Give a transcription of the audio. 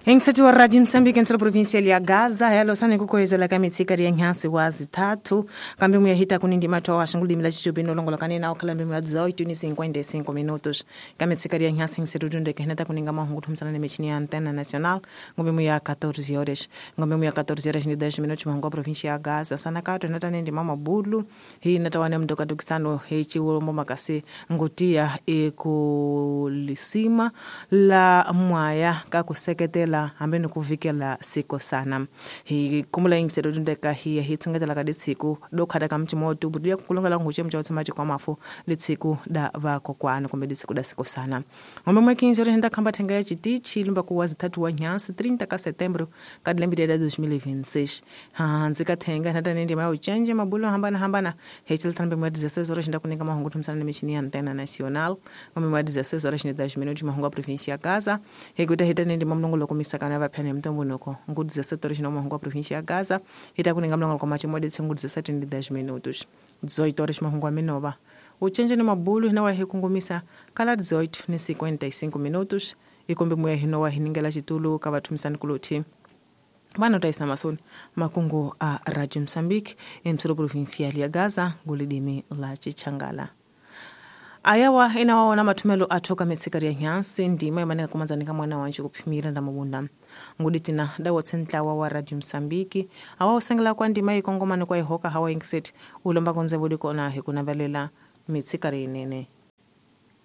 Engithethu wa Radio Mozambique emtselo provincial ya Gaza helo sane kukoyezela ka mitsikari ya nhansi wa zithathu kambe muya hita kunindi matwa wa shangulimi la chichubino longolokane nawo khala mbemu ya 18:55 minutos ka mitsikari ya nhansi ngiserudunde ke hinata kuninga mahungu thumsana ne michini ya Antena Nacional ngombe muya 14 horas ngombe muya 14 horas ni 10 minutos mahungu provincia ya Gaza sana kato hinata nindi mama bulu hi hinata wane mdoka dukisano hechi ulombo makasi ngutia ekulisima la mwaya kakuseketela hambe nikuvikela siko sana hi kumula ingiselo dundeka hi hi tsongetela ka ditsiku do khada ka mchimoto budia kulongela nguche mcha tsamaji kwa mafu litsiku da vakokwana kumbe litsiku da siko sana ngombe mwekinzo renda khamba thenga ya chitichi lumba kuwa zithathu wa nyansi 30 ka setembro ka dilembile da 2026 hanzi ka thenga nata nindi mayo chenje mabulo hambana hambana hechel thambe mwa 16 horas nda kuninga mahungu thumsana michini ya Antena Nacional ngombe mwa 16 horas 10 minutos mahungu a provincia ya Gaza hekuta hita nindi mamlongo komisa kana vaphane mtombonoko ngu 17 horas no mahungu a provincia ya Gaza hita kuninga mlongo kwa macho modi tsengu 17:10 minutos 18 horas mahungu a Minova uchenje ni mabulu hina wa hikungumisa kala 18:55 minutos ikombe muya hino wa hiningela chitulu ka vathumisani kuluthi vana taisa masoni makungu a Radio Mozambique emtselo provincial ya Gaza ngulidimi la Chichangala ayawa inawaona mathumelo athu ka mitsikari ya nyansi ndima imaneka kumanzanika mwana wanje kuphimira nda mabunda nguditina dawotse ntlawa wa Radio Mozambique awa usengela kwa ndima ikongomani kwa ihoka hawa ingisethi ulomba konze bulikona hikunavelela mitsikari inene